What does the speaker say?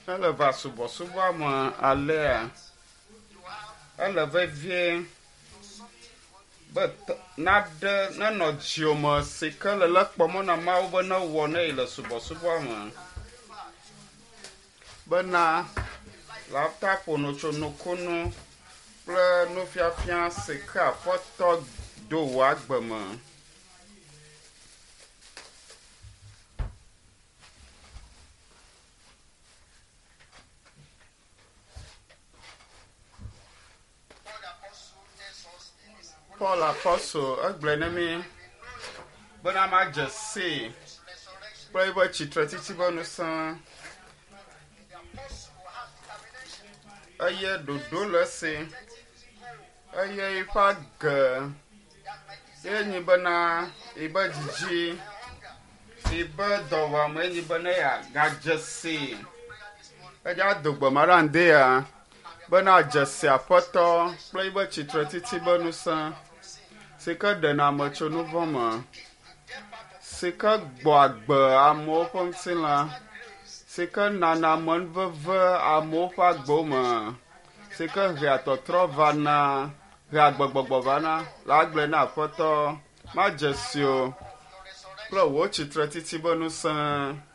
Ele va subɔsubɔa me alea, ele vevie be naɖe nenɔ dziwò me si ke le lé kpɔm na Mawu be newɔ ne yi le subɔsubɔa me. Bena la ta ƒo nu tso nukunu kple nufiafia si ke Aƒetɔ do wò agbe me. Paul Apostle tells us in his Paul Apostle egblɔe ne mí bena madze sii his resurrection. kple eƒe tsitretsitsi ƒe ŋusẽ The apostle has determination. eye ɖoɖo le esi Objective goal eye eƒe age that my desire ye nyi bena yibe dzidzi and hunger yibe dɔwɔame ye nyi bena yeagadze sii prayer this morning. edza do gbe ma ɖe ŋdea bena dze si Aƒetɔ kple yibe tsitretsitsi ƒe ŋusẽ si ke ɖena ame tso nu vɔ̃ me si ke gbɔ agbe amewo ƒe ŋutilã si ke nana amenuveve amewo ƒe agbewo me si ke hea tɔtrɔ vana hea agbegbɔgbɔ vana la agblɔe na Aƒetɔ madze si o Your resurrection kple wò tsitretsitsi ƒe ŋusẽ.